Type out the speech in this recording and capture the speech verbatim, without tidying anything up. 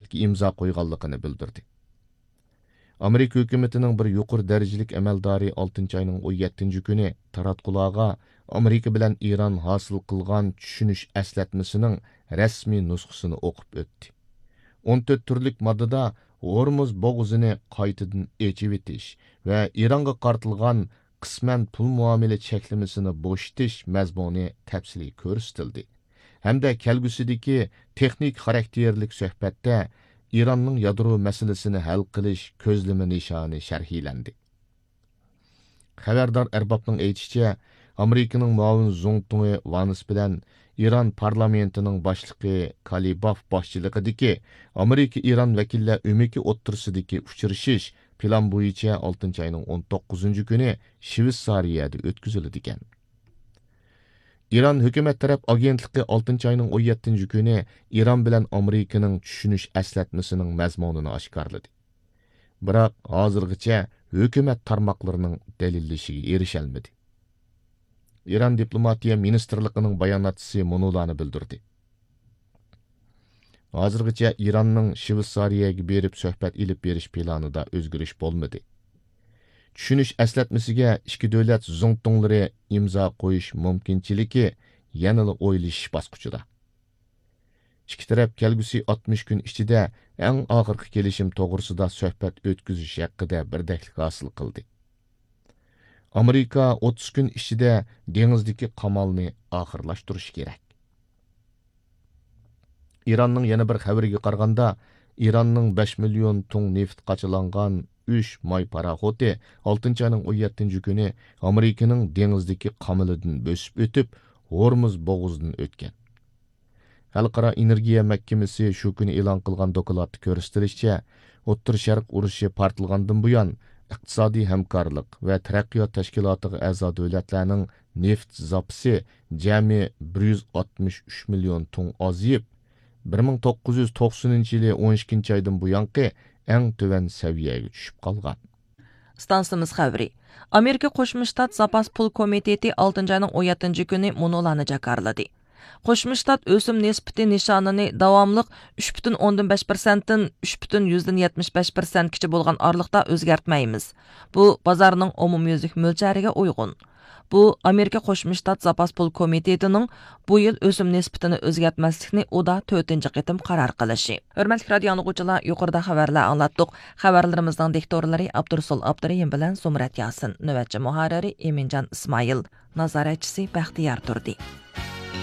كېلىشىمچىلىككە ئىمزا قويغانلىقىنى بىلدۈردى. ئامېرىكا ھۆكۈمىتىنىڭ بىر يۇقىرى دەرىجىلىك ئەمەلدارى ئالتىنچى ئاينىڭ ئون يەتتىنچى كۈنى تاراتقۇلارغا ئامېرىكا بىلەن ئىران ھاسىل قىلغان چۈشىنىش ئەسلەتمىسىنىڭ رەسمىي نۇسخىسىنى ئوقۇپ ئۆتتى. ئون تۆت تۈرلۈك ماددىدا ھورمۇز بوغۇزىنى قايتىدىن ئېچىۋېتىش ۋە ئىرانغا قارىتىلغان قىسمەن پۇل مۇئامىلە چەكلىمىسىنى بوشىتىش مەزمۇنى تەپسىلىي كۆرسىتىلدى ھەمدە كەلگۈسىدىكى تېخنىكا خاراكتېرلىك سۆھبەتتە ئىراننىڭ يادرو مەسىلىسىنى ھەل قىلىش كۆزلىمە نىشانى شەرھلەندى. خەۋەردار ئەربابنىڭ ئېيتىشىچە، ئامېرىكىنىڭ مۇئاۋىن زۇڭتۇڭى ۋانس بىلەن ئىران پارلامېنتىنىڭ باشلىقى كالىباف باشچىلىقىدىكى ئامېرىكا ئىران ۋەكىللەر ئۆمىكى ئوتتۇرىسىدىكى ئۇچرىشىش پىلان بويىچە ئالتىنچى ئاينىڭ ئون توققۇزىنچى كۈنى شۋېتسارىيەدە ئۆتكۈزۈلىدىكەن. ئىران ھۆكۈمەت تەرەپ ئاگېنتلىقى ئالتىنچى ئاينىڭ ئون يەتتىنچى كۈنى ئىران بىلەن ئامېرىكىنىڭ چۈشىنىش ئەسلەتمىسىنىڭ مەزمۇنىنى ئاشكارىلىدى. بىراق ھازىرغىچە ھۆكۈمەت تارماقلىرىنىڭ دەلىللىشىگە ئېرىشەلمىدى. ئىران دىپلوماتىيە مىنىستىرلىقىنىڭ باياناتچىسى مۇنۇلارنى بىلدۈردى. ھازىرغىچە ئىراننىڭ شۋېتسارىيەگە بېرىپ سۆھبەت ئېلىپ بېرىش پىلانىدا ئۆزگىرىش بولمىدى. چۈشىنىش ئەسلەتمىسىگە ئىككى دۆلەت زۇڭتۇڭلىرى ئىمزا قويۇش مۇمكىنچىلىكى يەنىلا ئويلىشىش باسقۇچىدا. ئىككى تەرەپ كەلگۈسى ئاتمىش كۈن ئىچىدە ئەڭ ئاخىرقى كېلىشىم توغرىسىدا سۆھبەت ئۆتكۈزۈش ھەققىدە بىردەكلىك ھاسىل قىلدى. ئامېرىكا ئوتتۇز كۈن ئىچىدە دېڭىزدىكى قامالنى ئاخىرلاشتۇرۇشى كېرەك. ئىراننىڭ يەنە بىر خەۋىرىگە قارىغاندا، ئىراننىڭ بەش مىليون تۇڭ نېفىت قاچىلانغان ئۈچ ماي پاراخوتى ئالتىنچى ئاينىڭ ئون يەتتىنچى كۈنى ئامېرىكىنىڭ دېڭىزدىكى قامىلىدىن بۆسۈپ ئۆتۈپ، ھورمۇز بوغۇزىدىن ئۆتكەن. خەلقئارا ئېنېرگىيە مەھكىمىسى شۇ كۈنى ئېلان قىلغان دوكلاتتا كۆرسىتىلىشىچە، ئوتتۇرا شەرق ئۇرۇشى پارتلىغاندىن بۇيان، ئىقتىسادىي ھەمكارلىق ۋە تەرەققىيات تەشكىلاتىغا ئەزا دۆلەتلەرنىڭ نېفىت زاپىسى جەمئىي بىر يۈز ئاتمىش ئۈچ مىليون تۇڭ ئازىيىپ، بىر مىڭ توققۇز يۈز توقسىنىنچى يىلى ئون ئىككىنچى ئايدىن بۇيانقى ئەڭ تۆۋەن سەۋىيەگە چۈشۈپ قالغان. ئىستانسىمىز خەۋىرى. ئامېرىكا قوشما شتات زاپاس پۇل كومىتېتى ئالتىنچى ئاينىڭ ئون يەتتىنچى كۈنى مۇنۇلارنى جاكارلىدى. قوشما شتات ئۆسۈم نىسبىتى نىشانىنى داۋاملىق ئۈچ پۈتۈن ئوندىن بەش پىرسەنتتىن ئۈچ پۈتۈن يۈزدىن يەتمىش بەش پىرسەنتكىچە بولغان ئارىلىقتا ئۆزگەرتمەيمىز. بۇ بازارنىڭ ئومۇميۈزلۈك مۆلچەرىگە ئۇيغۇن. بۇ ئامېرىكا قوشما شتات زاپاس پۇل كومىتېتىنىڭ بۇ يىل ئۆسۈم نىسبىتىنى ئۆزگەرتمەسلىكنى ئۇدا تۆتىنچى قېتىم قارار قىلىشى. ھۆرمەتلىك رادىئو ئاڭلىغۇچىلار، يۇقىرىدا خەۋەرلەر ئاڭلاتتۇق. خەۋەرلىرىمىزنىڭ دىكتورلىرى ئابدۇرۇسۇل ئابدۇرېھىم بىلەن زۇمرەت ياسىن، نۆۋەتچى مۇھەررىرى ئىمىنجان ئىسمائىل، نازارەتچىسى بەختىيار تۇردى.